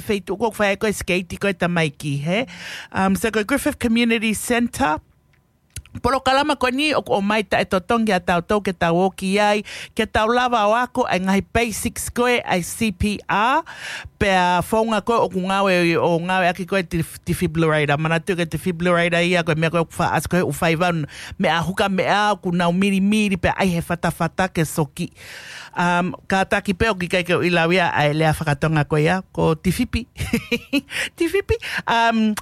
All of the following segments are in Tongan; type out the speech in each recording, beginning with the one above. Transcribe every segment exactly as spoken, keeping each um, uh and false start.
feituʻu ko ē ʻoku fai ai ko ē sikeiti ko ē tamaiki, hē? Um, so ko e Griffith Community Centre, polokalama ko eni ʻoku ʻomai taʻetotongi ʻa tautolu ke tau ō ki ai, ke tau lava ʻo ako ʻa e ngaahi basics ko ē ʻa e C P R, pea founga ko ē ʻoku ngāue ʻo ngāueʻaki ko ē te-, defibrillator. Manatuʻi ko e defibrillator ia ko e meʻa ko ē ʻoku faʻa ʻasi ko ē ʻoku fai vanu, meʻa huka meʻa ʻoku nau milimili pea ʻai he fatafata ke soki. Um, kātaki pē ʻoku ʻikai ke u ʻiloʻi ia ʻa e lea fakatonga ko ia, ko tifipi. Tifipi. Um,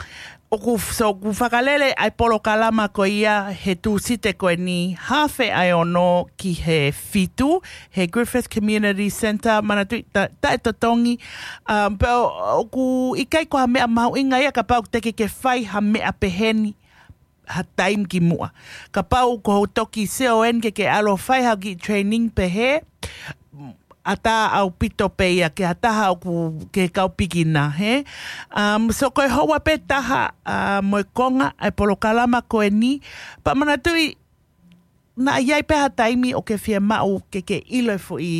ʻoku f-, so ʻoku fakalele ʻa e polokalama ko ia he Tūsite ko eni, hafe ʻa e ono ki he fitu, he Griffith Community Centre, manatuʻi ta-, taʻetotongi, um, pea ʻo-, ʻoku ʻikai ko ha meʻa mahuʻinga ia kapau te ke ke fai ha meʻa peheni ha taimi ki muʻa. Kapau ko hoʻo toki sio eni ke ke ʻalu ʻo fai ha kiʻi training pehē, ʻatā ʻaupito pē ia ki ha taha ʻoku ke kau beginner, hē? Um, so ko e houa pē taha, uh, mo e konga ʻa e polokalama ko eni, pea manatuʻi naʻa ʻi ai pē ha taimi ʻoku ke fiemaʻu ke ke ʻilo e foʻi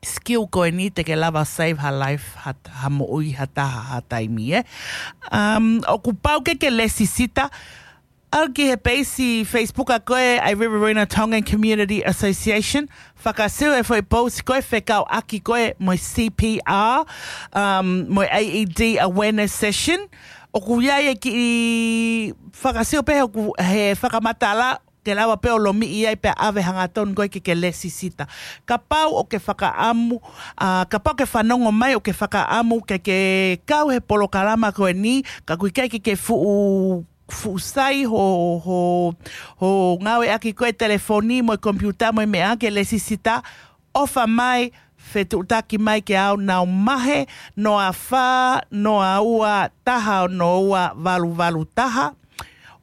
skill ko eni te ke lava save ha life, ha, ha moʻui ha taha ha taimi, ē? Um, ʻoku pau ke ke lēsisita, ʻalu ki he peisi Facebook ʻa ko ē ʻa e Riverina Tongan Community Association, fakasio e foʻi post ko ē fekauʻaki ko ē mo e C P R, um, mo e A E D awareness session. ʻOku ʻi ai e kiʻi fakasio pē he ʻoku, he fakamatala, ke lava pē ʻo lomiʻi ai pea ʻave hangatonu ko ē ke ke lēsisita. Kapau ʻoku ke fakaʻamu, ʻa, kapau ke fanongo mai ʻoku ke fakaʻamu ke ke kau he polokalama ko eni, ka ʻoku ʻikai ke ke fuʻu, fuʻu sai hoʻo, hoʻo, hoʻo ngāueʻaki ko ē telefoni mo e komipiuta mo e meʻa ke lēsisita, ʻofa mai, fetuʻutaki mai kiate au, nau mahe, noa fā, noa ua, taha ono ua, valu valu taha.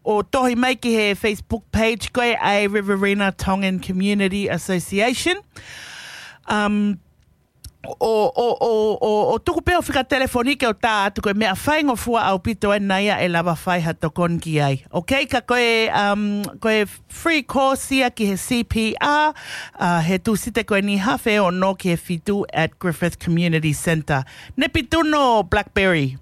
ʻO tohi mai ki he Facebook page ko ē ʻa e Riverina Tongan Community Association. Um, ʻo, ʻo, ʻo, ʻo, ʻo tuku pē hoʻo fika telefoni ke u tā atu ko e meʻa faingofua ʻaupito ena ia ʻe lava fai ha tokoni ki ai. Ok, ka ko e, um, ko e free course ia ki he C P R, uh, he Tūsite ko eni hafe ono ki he fitu at Griffith Community Centre. Nepituno Blackberry.